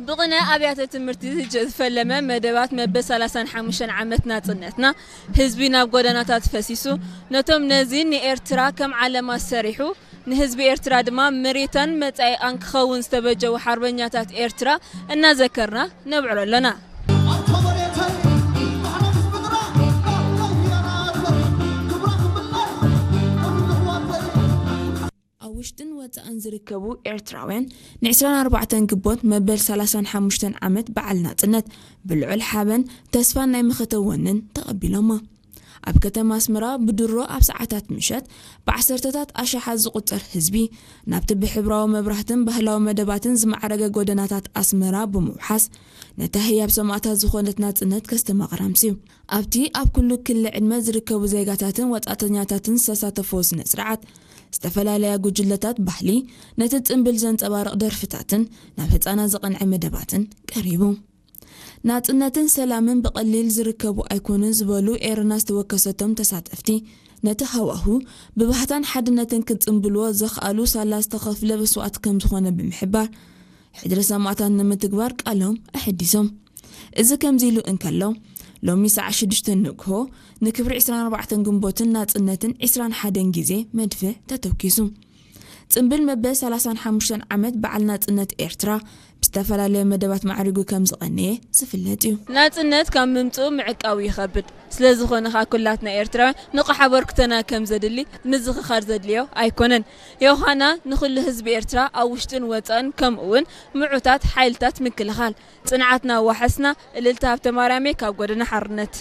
ብቕነ ኣብያተ ትምህርቲ ዝፈለመ መደባት መበል ሰላሳን ሓሙሽተን ዓመት ናጽነትና፣ ህዝቢ ናብ ጎደናታት ፈሲሱ፣ ነቶም ነዚ ንኤርትራ ከም ዓለማ ሰሪሑ፣ ንህዝቢ ኤርትራ ድማ መሬታን መጻኢኣን ክኸውን ዝተበጀዉ ሓርበኛታት ኤርትራ እናዘከርና ነብዕሎ ኣለና። ኣብ ውሽጥን ወጻእን ዝርከቡ ኤርትራውያን፣ ን24 ግንቦት መበል ሰላሳን ሓሙሽተን ዓመት በዓል ናጽነት ብልዑል ሓበን፣ ተስፋን ናይ መኸተ ወንን ተቐቢሎማ። ኣብ ከተማ ኣስመራ ብድሮ ኣብ ሰዓታት ምሸት ብዓሰርተታት ኣሽሓት ዝቑጸር ህዝቢ ናብቲ ብሕብራዊ መብራህትን ባህላዊ መደባትን ዝማዕረገ ጎደናታት ኣስመራ ብምውሓስ፣ ነታ ህያብ ሰማእታት ዝኾነት ናጽነት ከስተማቕር ኣምስዩ። ኣብቲ ኣብ ኩሉ ክሊ ዕድመ ዝርከቡ ዜጋታትን ወጻእተኛታትን ዝተሳተፍዎ ስነ ስርዓት፣ ዝተፈላለያ ጉጅለታት ባህሊ፣ ነቲ ጽምብል ዘንጸባርቕ ደርፍታትን ናብ ህጻናት ዝቐንዐ መደባትን ቀሪቡ። ናጽነትን ሰላምን ብቐሊል ዝርከቡ ኣይኮኑን ዝበሉ ኤረና ዝተወከሰቶም ተሳተፍቲ፣ ነቲ ሃዋሁ ብባህታን ሓድነትን ክጽምብልዎ ዘኽኣሉ ሳላ ዝተኸፍለ መስዋእቲ ከም ዝኾነ ብምሕባር፣ ሕድሪ ሰማእታት ንምትግባር ቃሎም ኣሐዲሶም። እዚ ከምዚ ኢሉ እንከሎ፣ ሎሚ ሰዓት ሽዱሽተ ንግሆ ንክብሪ ዕስራን ኣርባዕተን ግንቦትን ናጽነትን ዕስራን ሓደን ግዜ መድፍዕ ተተኪሱ። ጽምብል መበል ሰላሳን ሓሙሽተን ዓመት በዓል ናጽነት ኤርትራ ብዝተፈላለየ መደባት ማዕሪጉ ከም ዝቐነየ ዝፍለጥ እዩ። ናጽነት ካብ ምምጽኡ ምዕቃቡ ይኸብድ። ስለ ዝኾነ ኸኣ ኩላትና ኤርትራውያን ንቑሕ ኣበርክቶና ከም ዘድሊ ምዝኽኻር ዘድልዮ ኣይኮነን። ዮሃና ንኹሉ ህዝቢ ኤርትራ ኣብ ውሽጥን ወጻእን ከምኡ እውን ምዑታት ሓይልታት ምክልኻል ጽንዓትና ዋሕስና። እልልታ ሃብተማርያመይ ካብ ጎደና ሓርነት።